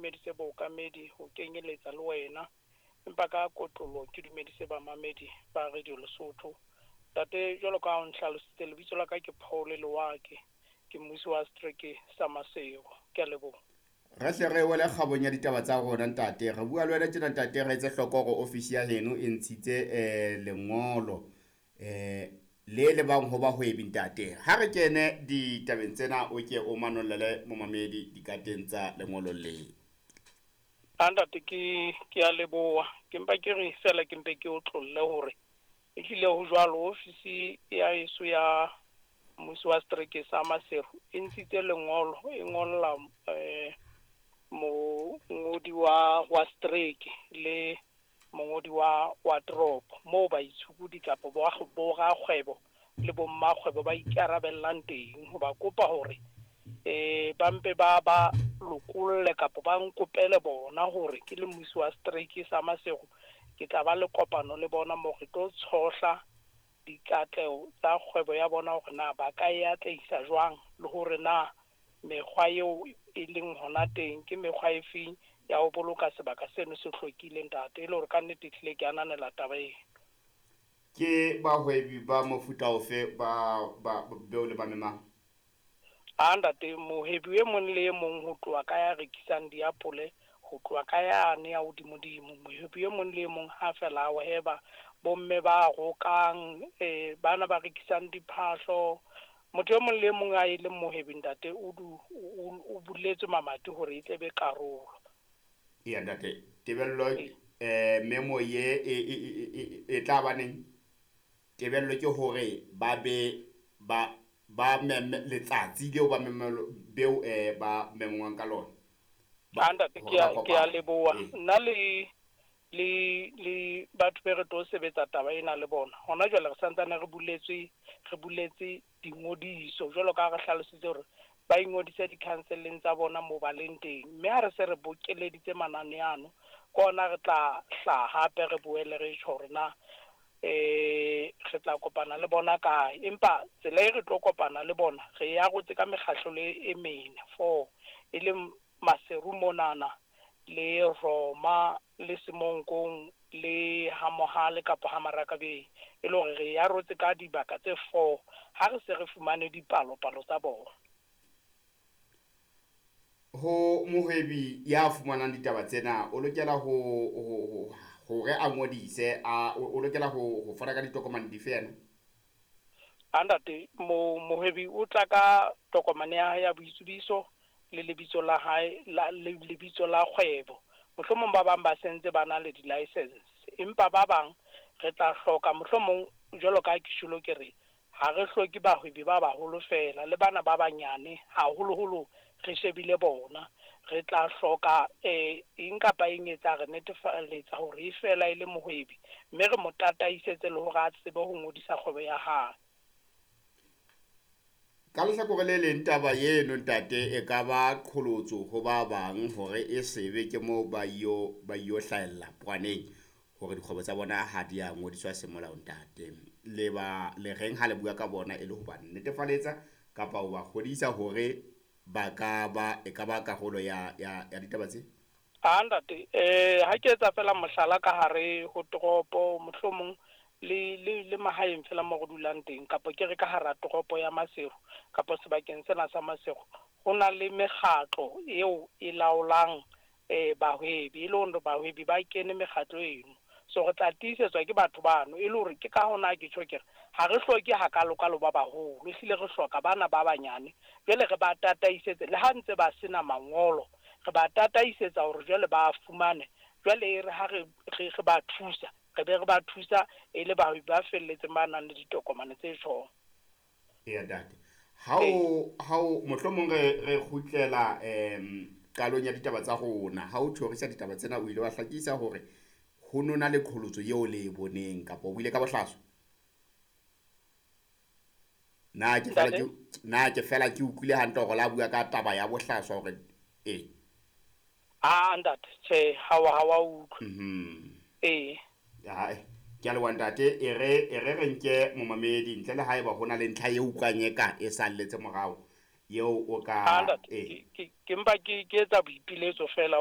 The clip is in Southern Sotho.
Dumedise bookamedi ho kenyeletsa le wena, empa ka kotloloho ke dumedise bamamedi ba Radio Lesotho. Ntate, jwalo ka ha o nhlalositse, lebitso la ka ke Paul Lewake, ke mmusi wa setereke sa Maseru. Ke a leboha. Re hle re wele kgabong ya ditaba tsa rona, ntate. Re bua le wena tjena, ntate, re etse hloko hore ofisi ya heno e ntshitse lengolo le lebang ho bahwebi, ntate. Ha re kene ditabeng tsena, o ke o manollele momamedi dikateng tsa lengolo le. A ntate, ke a leboha. Ke mpa ke re fela ke mpe ke o tlolle hore ehlile ho jwalo. Ofisi ya heso ya mmusi wa setereke sa Maseru e ntshitse lengolo, e ngolla mongodi wa setereke le mongodi wa toropo, moo baitshokodi kapa bo rakgwebo le bo mmakgwebo ba ikarabellang teng, ho ba kopa hore ba mpe ba lokolle kapa ba nkopele bona hore ke le mmusi wa setereke sa Maseru ke tla ba le kopano le bona moo re tlo tshohla dikatleho tsa kgwebo ya bona, hore na ba ka e atlehisa jwang, le hore na mekgwa eo e leng hona teng ke mekgwa e feng ya ho boloka sebaka seno se hlwekile, ntate. E le hore ka nnete ehlile ke ananela taba eno. Ke bahwebi ba mofuta ofe ba beo le ba memang? A ntate, mohwebi e mong le e mong, ho tloha ka ya rekisang diapole, ho tloha ka yane ya hodimodimo, mohwebi e mong le e mong ha fela a hweba, bomme ba rokang, bana ba rekisang diphahlo, motho e mong le e mong a e leng mohwebi, ntate, o buletswe mamati hore e tle be karolo. Eya ntate, tebello memo ye e tla ba neng? Tebello ke hore ba be ba meme letsatsi leo ba memelo beo ba memongwang ka lona. A ntate, ke a leboha. Nna le batho be re tlo sebetsa taba ena le bona hona jwale, re santsane re buletse dingodiso, jwalo ka ha re hlalositse hore ba ingodise di-council-eng tsa bona moo ba leng teng. Mme ha re se re bokeleditse manane ano, ke ona re tla hlaha hape re boele re tjho hore na re tla kopana le bona kae. Empa tsela e re tlo kopana le bona, re e arotse ka mekgahlo le e mene, four, e leng Maseru monana, le Roma, le Semonkong, le Hamohale kapa ha Marakabeng, e le hore re e arotse ka dibaka tse four ha re se re fumane dipalopalo tsa bona. Ho mohwebi ya fumanang ditaba tsena, o lokela ho hore a ngodise, o lokela ho fana ka ditokomane dife yena? A ntate, mohwebi o tla ka tokomane ya hae ya boitsebiso le lebitso la hae, lebitso la kgwebo. Mohlomong ba bang ba sentse ba na le di-license, empa ba bang re tla hloka mohlomong, jwalo ka ha ke tjholo ke re ha re hloke bahwebi ba baholo fela, le bana ba banyane haholoholo re shebile bona. Re tla hloka eng kapa eng e tla re netefaletsa hore e fela e le mohwebi, mme re mo tataisetse le hore a tsebe ho ngodisa kgwebo ya hae. Ka lehlakore le leng, taba eno ntate e ka ba qholotso ho ba bang hore e sebe ke moo ba yo hlahella poaneng hore dikgwebo tsa bona ha di a ngodiswa semolao, ntate. Le ba le reng ha le bua ka bona e le ho ba netefaletsa kapa ho ba kgodisa hore ba ka ba e ka ba karolo ya ditaba tse? A ntate, ha ke etsa fela mohlala ka hare ho toropo, mohlomong le mahaeng fela mo re dulang teng, kapa ke re ka hara toropo ya Maseru kapa sebakeng sena sa Maseru, ho na le mekgatlo eo e laolang bahwebi, e le hore bahwebi ba kene mekgatlo eno. So re tla tiisetswa ke batho bano, e le hore ke ka hona ke tjho ke re ha re hloke hakalokalo ba baholo, ehlile re hloka bana ba banyane. Jwale re ba tataisetse, le ha ntse ba sena mangolo, re ba tataisetsa hore jwale ba fumane. Jwale e re ha re ba thusa, re be re ba thusa e le bahwebi ba felletseng ba nang le ditokomane tse tjhong. Eya ntate, ha o mohlomong re kgutlela qalong ya ditaba tsa rona, ha o thorisa ditaba tsena o ile wa hlakisa hore ho nona le qholotso eo le e boneng, kapa o buile ka bohlaswa. Na ke fela ke utlwile hantle hore la bua ka taba ya bohlaswa hore e? A ntate, tjhe, ha wa utlwa. Ee. Hai, ke a leboha ntate. E re nke momamedi ntle le haeba ho na le ntlha e utlwang e ka e salletse morao eo o ka ke mpa ke etsa boipiletso fela.